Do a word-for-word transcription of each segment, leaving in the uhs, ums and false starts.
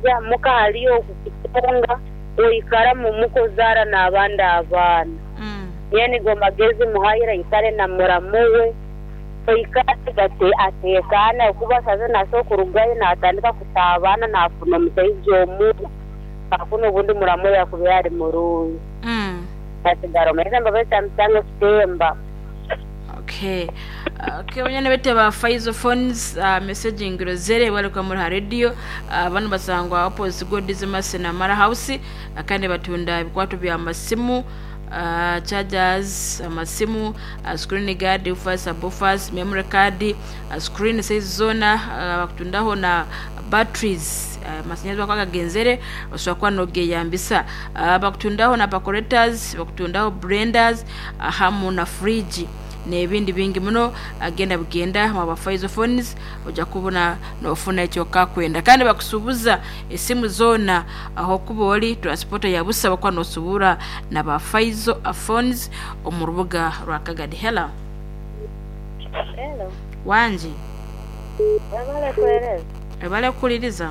Omusaija muka haliyo okukutunga oikaramu mukuzaara n'abandi abaana. Mm. Nyowe nigo magezi muhaire aikare na muramu we aikare ate ateekaane kuba saaza naasobola kurugayo naatandika kusaabana naafuna omusaija omubi hakuna obundi muramu we yakubaire ari murungi. Mm. Asigara omuheza Mbabazi tamusanga kutemba. Okay. Okay, banyana bete ba Faizo Phones uh, messaging Rosere bali kwa muri ha radio uh, bano basangwa opposite God's Mercy na Mara House uh, kandi batunda ebikwato bya masimu uh, chargers, amasimu, uh, screen guard, woofers, subwoofers, memory card, uh, screen size zona, uh, bakutundaho na batteries, uh, masanyazi bakagenzere osobola kuba nogeyambisa, uh, bakutundaho na percolators, bakutundaho blenders, uh, hamu na fridge n'ebindi bingi muno. Agenda bugenda mwaba Faizo Phones ojja kubona nofuna ekyo kakwenda kandi bakusuubuza esimu zoona aho kuba oli transport ya busa bakuba nosubura na ba Faizo Phones omu rubuga rwa Kagadi. Hello. Hello. Wangi. Webale kuhereza. Ebale kukuliriza.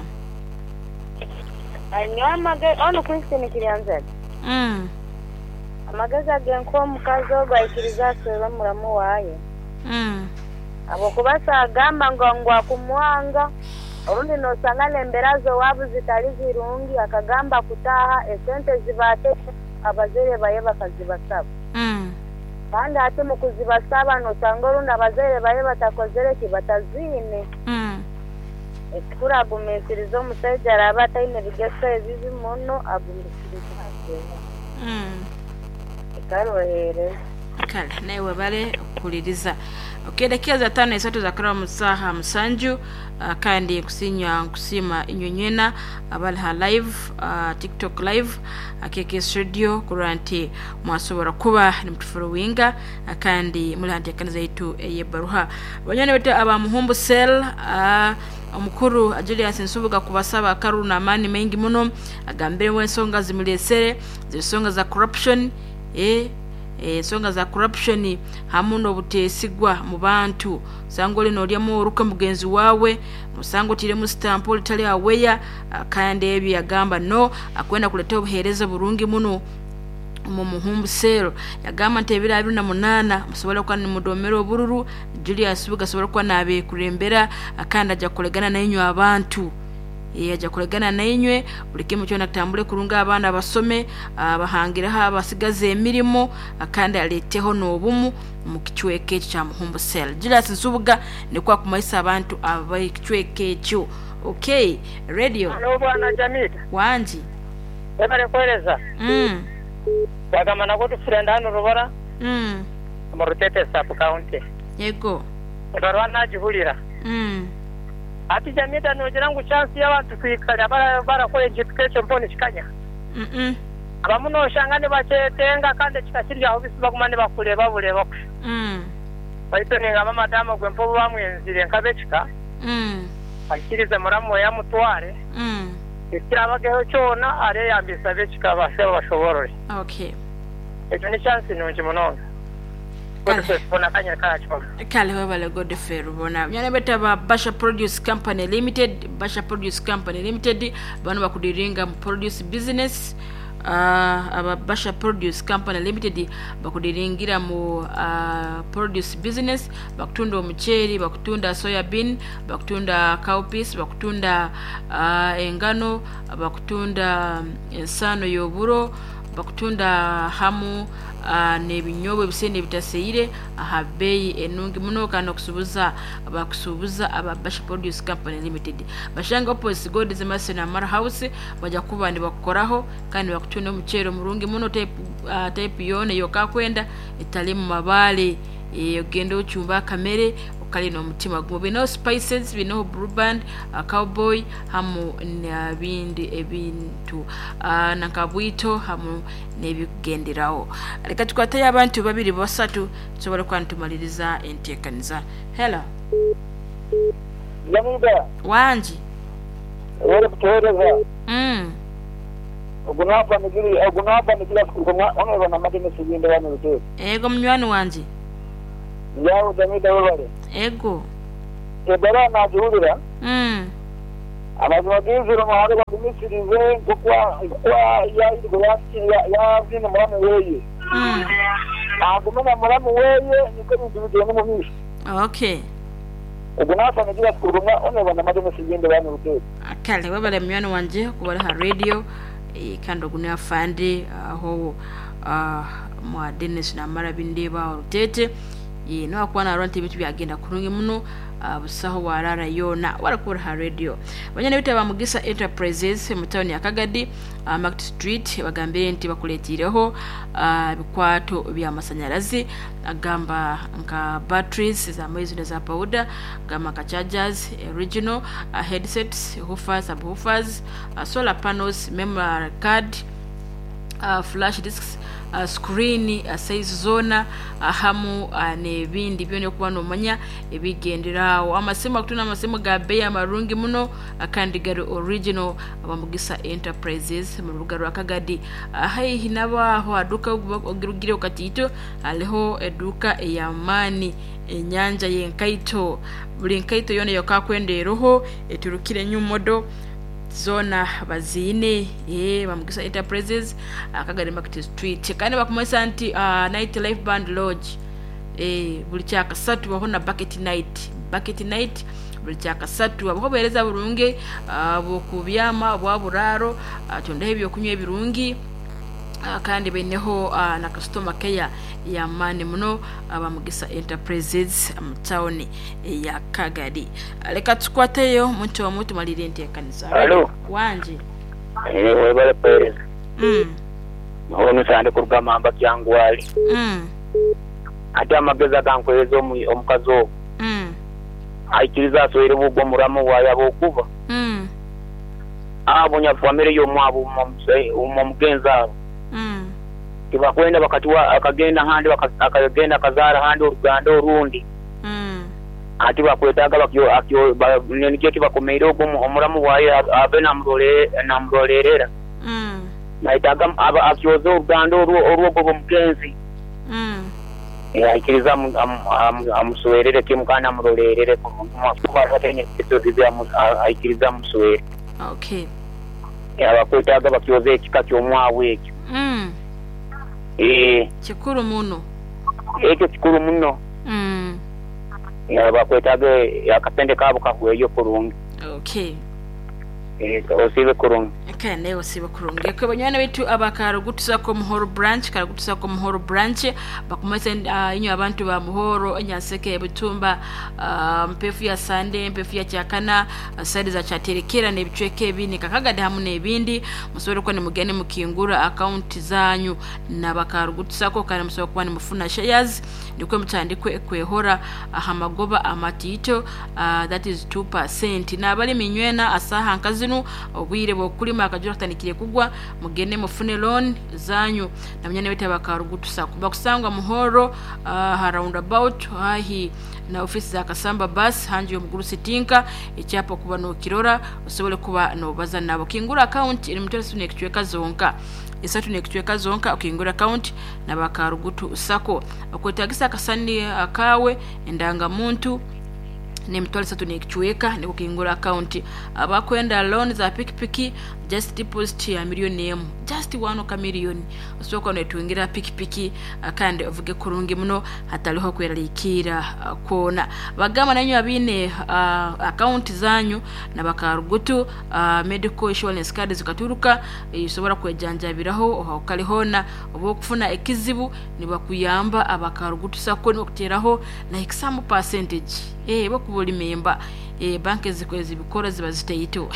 Nyowe amagezi onu Christine Kiryanzega. Mm. Amagezi agenkuha omukazi ogu aikiriza aswere muramu waaye. Mm. Habwokuba saagamba ngu ngu akumwanga orundi noosanga n'embeera z'owaabo zitali zirungi akagamba kutaaha esente zibaate abazaire baye bakazibasaba. Mm. Kandi hati mu kuzibasaba noosanga orundi abazaire baye batakozere ki bataziine. Mm. Ekikuru agumiisirize omusaija araaba ataine bigeso ebibi muno agumiisirize aswere. Mm. Ekarohereza. Kale naye webale okukuliriza. Okay, dakika za tano esatu zakaraba mu saaha musanju, uh, kandi nkusinya nkusiima inywe nywena abali ha live, uh, TikTok live akeke studio kurora nti mwasobora kuba nimutufollowinga, uh, kandi muli ha nteekaniza yaitu ey'ebbaruha. Banywani baitu aba Muhumbu Cell, uh, omukuru Julius Nsubuga kubasaba akaruru n'amaani maingi muno agambiremu ensonga zimuleesere ziri nsonga za corruption, eh, ensonga za corruption hamu n'obuteesigwa mu bantu. Osanga oli noolyamu oruka mugenzi waawe, osanga otiiremu sitampu olitali aweya, kandi ebyo yagamba no akwenda kuleeta obuheereza burungi muno omu Muhumbu Cell. Yagamba nti ebiro abiri na munaana musobole kuba nimudoomera obururu, Julius Nsubuga asobole kuba naabeekurembera kandi ajja kukoregana nainywe abantu. Ajja kukoregana nainywe buli kimu kyona kitambule kurungi, abaana basome, bahangireho abasigaze emirimu kandi aleeteho n'obumu mu kicweka ekyo kya Muhumbu Cell. Julius Nsubuga nikwo akumaisa abantu ab'ekicweka ekyo. Okay, radio. Halo bwana Jamila. Wangi. Webale kuhereza. Mm. Wagamba nako tufurenda hano Rubara. Mm. Mu Rutete sub county. Yego. Ebarwa najihurira. Mm. Ati Jamila nogira ngu chance y'abantu kwikara barakora ekintu ekyo mpona kikanya. Mm -mm. Abamu noshanga nibakyetenga kandi kikakirya aho bisi baguma nibakureba bureba. Mm. Baitu ningamba madamu gwe mpobo bamwenzire nkabekika. Mm. Akirize muramu we yamutware. Mm. Ekirabageho kyona areyambisa bekika base bashoborore. Okay. Ekyo ni chance nungi munonga. Kale webale Godfrey Rubona. Nyana beta ba Basha Produce Company Limited, Basha Produce Company Limited bano bakudiringa mu produce business. Uh, aba Basha Produce Company Limited bakudiringira mu uh, produce business, bakutunda omuceeri, bakutunda soya bean, bakutunda cowpeas, bakutunda uh, engano, bakutunda ensaano y'oburo, bakutunda hamu uh, n'ebinyobwa ebisene ebitaseire aha beeyi enungi muno kandi okusuubuza bakusuubuza aba Basha Produce Company Limited. Bashanga opposite God's Mercy na Mara House bajja kuba nibakukoraho kandi bakutunda omuceeri omurungi muno type, uh, type yoona eyokakwenda etali mu mabaale, ogenda ocumba akamere okali n'omutima gumu. Binaho spices, binaho Blue Band, uh, Cowboy hamu n'ebindi ebintu, uh, nankabwito hamu n'ebikugenderaho. Leka tukwateyo abantu babiri basatu tusobole kuba nitumaliriza enteekaniza. Hello. Jamila. Wangi. Wele kutuhereza. Mm. Ogunapa nigiri ogunapa nigiri kuruka ono bana madene siginde wano rutete. Ego munywani wanje. Yawo Jamila webale. Ego. Ebara najihurira. Mm. Amazima g'iziro muhanga bagumisirize nk'okwa nk'okwa yayirwe yabyine muramu weye. Mm. Agume na muramu weye niko ebintu bigenda omu maisho. Okay. Ogu naafana kurumwa oneba namademesi gende bana rutete. Kale webale munywani wanje kuba ha radio eh, kandi ogu afande aho ah, mwa Dennis namara bindeba orutete ye no akuba narora nti ebintu byagenda kurungi muno ah, busaho warara yona warakura ha radio banyana bitaba Mugisa Enterprises mu town ya Kagadi uh, Market Street bagambire nti bakuletireho ah, ebikwato by'amasanyarazi agamba nka batteries za mwezi za powder gamba nka chargers original uh, headsets woofers subwoofers uh, solar panels memory card uh, flash disks uh, screen uh, size zona uh, hamu uh, n'ebindi byona okuba nomanya ebigenderawo amasimu akutuna amasimu ga bei amarungi muno uh, kandi gari original abamugisa Enterprises mu rubuga rwa Kagadi uh, haihi nabaho aduka ogirugire okatiito hariho eduka ey'amaani enyanja y'enkaito buli nkaito yona yokakwenda eroho eturukire nyumodo zona baziine eh bamugisa Enterprises Akagari Market Street kandi bakumanyisa nti uh, night life band lodge eh buli kyakasatu baho na bucket night bucket night buli kyakasatu abaho buhereza burungi uh, bwokubyama bwa buraro uh, tondaho ebyokunywa ebirungi uh, kandi baineho uh, na customer care yamaani muno abamugisa Enterprises mu town ya Kagadi. Leka tukwateyo muntu omu tumalire enteekaniza. Hello. Wanje. Eh webale pereza. Mm. Ono sande kuruga mamba kyangwali. Mm. Ate amagezi agankweza omukazi ogwo. Mm. Aikiriza aswere bugwo muramu waayaba okuba. Mm. Abo nyafamire y'omwabo omugenzi abo. Mm. Tibakwenda bakatuwa akagenda handi akagenda akazaara handi oruganda orundi. Mm. Ati bakwetaaga bakyo akyo nikyo kibakomeire ogwo omuramu waaye abe namurole namurolerera. Mm. Naitaaga akyoze oruganda orwogwo omugenzi. Mm. Aikiriza amuswerere kimu kandi amurolerere kuba ataine aikiriza amuswere. Okay. Abakwetaaga bakyoze ekika ky'omwawe ekyo. Mm. Eh. Kikuru muno. Ekyo kikuru muno. Mm. Bakwetaaga akasente kaabo kahweyo kurungi. Okay. Eh osibe kurungi. Okay, naye osibe kurungi. Kwe banywana bitu abakarugutusako Muhoro branch, karugutusako Muhoro branch, bakumese uh, inyo abantu ba Muhoro, Nyaseke, Butumba, uh, mpefu ya Sande, mpefu ya Kyakana, uh, side za Kyaterekera n'ebicweka ebindi Kakagadi hamu n'ebindi, musobole kuba nimugende mukingura account zanyu n'abakarugutusako kandi musobole kuba nimufuna shares, nikwe mutandikwe kwehora ahamagoba amatiito, uh, that is two percent. N'abali minywena asaha nkazinu obwire bw'okulima akajura katandikire kugwa mugende mufune loan zanyu namanya bita bakarugutusa kuba kusangwa Muhoro uh, ha roundabout hahi na ofisi za Kasamba bus hanji y'omuguru sitinka ekyapa kuba nokirora osobole kuba nobaza nabo kingura account eri mutwaro sune ekicweka zonka esatu nekicweka zonka okingura account nabakarugutu sako okwetagisa akasani akawe endangamuntu nemitwaro esatu nekicweka nikukingura account abakwenda loan za pikipiki just deposit ya miliyoni emu just one ka miliyoni osobola netungira pikipiki kandi ovuge kurungi muno hataliho kweraliikira kwona bagamba nanyu abiine uh, account zanyu nabakarugutu uh, medical insurance card zikaturuka isobora kwejanjabiraho ohakali hona oba okufuna ekizibu nibakuyamba abakarugutu sako nibakuteraho like some percentage eh bakuba oli memba eh banki zibikora ziba zitaito.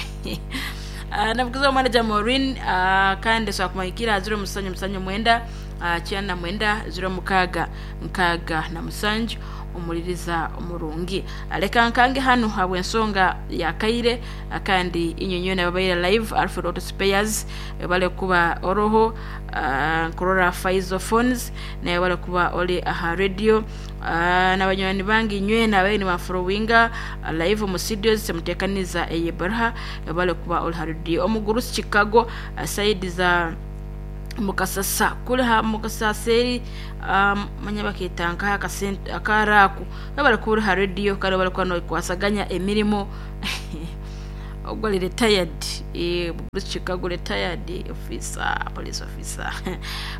Uh, navugiza manager Maureen uh, kandi so akumanyikira zero musanju musanju mwenda uh, kyana mwenda zero mukaga nkaga na musanju omuliriza omurungi aleka nkange hano habwe ensonga ya kaire kandi inyonyo nababaire live Alfred Auto Spares bale kuba oroho uh, nkurora Faizo Phones naye bale kuba oli aha radio uh, n'abanywani bange inywe nabaye ni bafollowinga uh, live mu studios mutekaniza eyebaraha bale kuba oli ha radio omuguru Chicago uh, side za mukasasa kuli ha mukasaseri um, manya baketanka akasente akaraku babali kuri ha radio kare bali kwano kwasaganya emirimo Ogwo retired, eh, Chicago retired officer, police officer.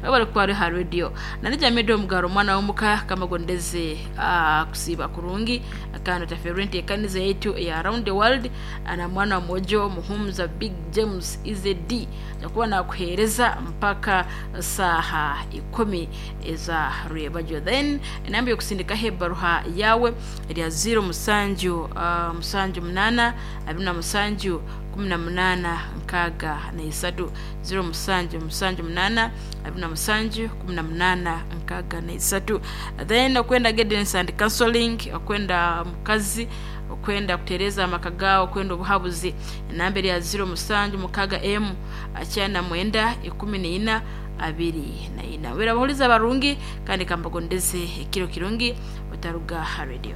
Webale kuba ari ha radio. Nanija medo omugaro omwana w'omuka kamagondeze uh, kusiiba kurungi kandi otaferwe enteekaniza yaitu eya around the world na mwana wa mwojo Muhumuza Big James E Z D jakuba nakuheereza mpaka saaha ikumi eza rwebajo. Then enamba yokusindikaho ebaruha yawe erya ziro musanju uh, musanju munana abiri na musanju kumi na munana nkaaga na isatu, ziro musanju musanju munana abiri na musanju kumi na munana nkaaga na isatu. Then okwenda guidance and counseling, okwenda mukazi, okwenda kutereza amaka gawe, okwenda obuhabuzi, enamba erya ziro musanju mukaga m akyana mwenda ikumi niina abiri na ina. Wera abahuliza barungi kandi kambagondeze ekiro kirungi, otaruga ha radio.